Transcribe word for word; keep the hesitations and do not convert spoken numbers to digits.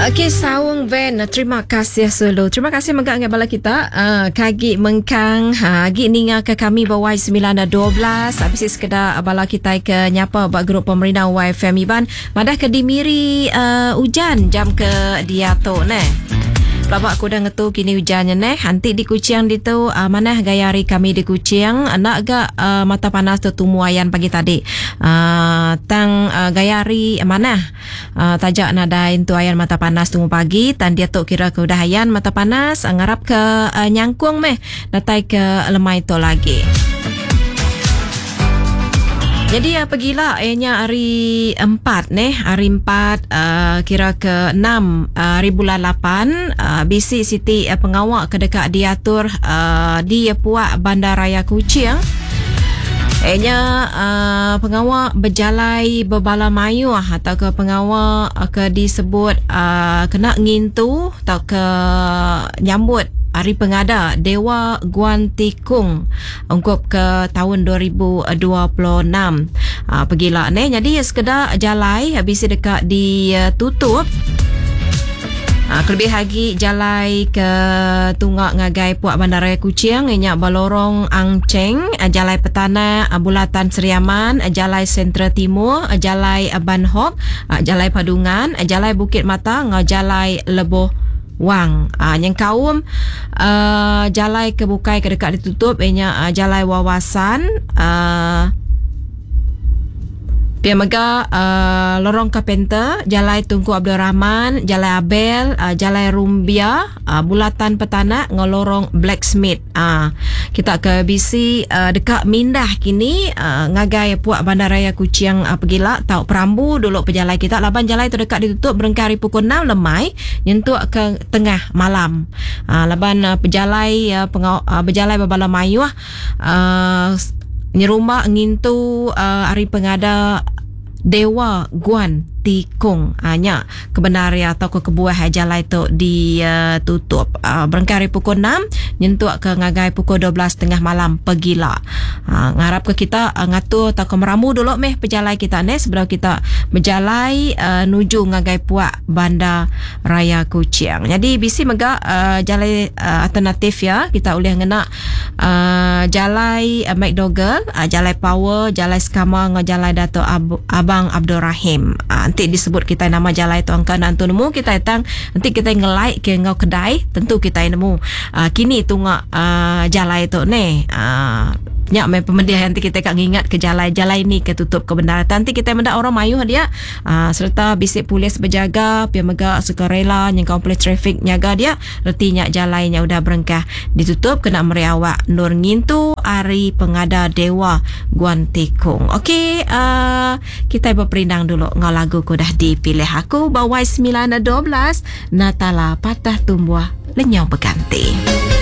Okey, Saung Van, terima kasih sulu. Terima kasih mega ngagai bala kita. Uh, kagi mengkang, ha, agi ninga ke kami ba Y sembilan dua belas. Bisi sekeda bala kita ke nyapa ba grup pemerintah Y F M Iban. Madah ke di Miri uh, hujan jam ke dia tu neh. Pelabak aku dah ngetu kini hujannya neh. Nanti di Kuching ditu uh, mana gaya hari kami di Kuching nak ga uh, mata panas tu tumu ayan pagi tadi. Uh, tang uh, gaya hari mana uh, tajak nadai tu ayan mata panas tumu pagi tan dia tu kira ke udah ayan mata panas ngarap ke uh, nyangkung meh datai ke lemai tu lagi. Jadi apa gila ianya hari empat neh, hari empat uh, kira ke enam uh, hari bulan lapan uh, B C City uh, pengawak ke dekat diatur uh, di Puak Bandaraya Kuching. Ianya uh, pengawak berjalai berbala mayuh atau ke pengawak uh, ke disebut uh, kena ngintu atau ke nyambut Hari Pengada Dewa Guan Tikung ungkup ke tahun dua ribu dua puluh enam. Ha, pergilah ni. Jadi sekedar jalai habis dekat ditutup. Ha, kelebih lagi jalai ke Tunggak ngagai Puak Bandaraya Kuching inyak Balorong Ang Cheng, Jalai Petana Bulatan Seriaman, Jalai Sentral Timur, Jalai Ban Hock, Jalai Padungan, Jalai Bukit Mata, ngau Jalai Leboh Wang. Ah, yang kaum uh, jalai ke bukai ke dekat ditutup ianya uh, Jalai Wawasan, uh, Pia mega uh, Lorong Carpenter, Jalai Tunku Abdul Rahman, Jalai Abel, uh, Jalai Rumbia, uh, Bulatan Petanak, ngau Lorong Blacksmith. Uh, kita ke B C uh, dekat mindah kini uh, ngagai Puak Bandaraya Kuching uh, pergila tau perambu dulu pejalai kita laban jalai tu dekat ditutup berengkah hari pukul enam lemai nyentuk ke tengah malam. Uh, laban uh, pejalai uh, pengau, uh, berjalai berbala mayuh uh, nyerumba ngintu uh, hari pengada Dewa Guan Tikung. Hanya ha, kebenaran atau ke kebuah jalai tu ditutup. Uh, berengkah hari pukul enam nyentuk ke ngagai pukul dua belas tengah malam pergila. Ha, ngarap ke kita uh, ngatur atau ke meramu dulu meh pejalai kita ni sebelum kita berjalai uh, nuju ngagai Puak Bandar Raya Kuching. Jadi B C mega uh, jalai uh, alternatif ya, kita boleh ngena uh, jalai uh, McDougall, uh, jalai Power, jalai Skama ngau jalai Dato' Ab- Abang Abdul Rahim. Uh, nanti disebut kita nama jalai tu angka nanti nemu kita datang, nanti kita nge-like ke ngau kedai tentu kita nemu. Uh, kini tunga uh, jalai tu ni. Uh, nyak main pemediah nanti kita kak ngingat ke jalai-jalai ni ke tutup kebenaran. Nanti kita mendak orang mayuh dia uh, serta bisik polis berjaga pia mega sukarela yang kau polis trafik nyaga dia reti nyak jalainya udah berengkah ditutup kena meriawak nur ngintu hari pengada Dewa Guan Tikung. Okey, uh, kita berperindang dulu ngau lagu ku dah dipilih aku bawai sembilan dua belas Natala Patah Tumbuh Lenyau Berganti.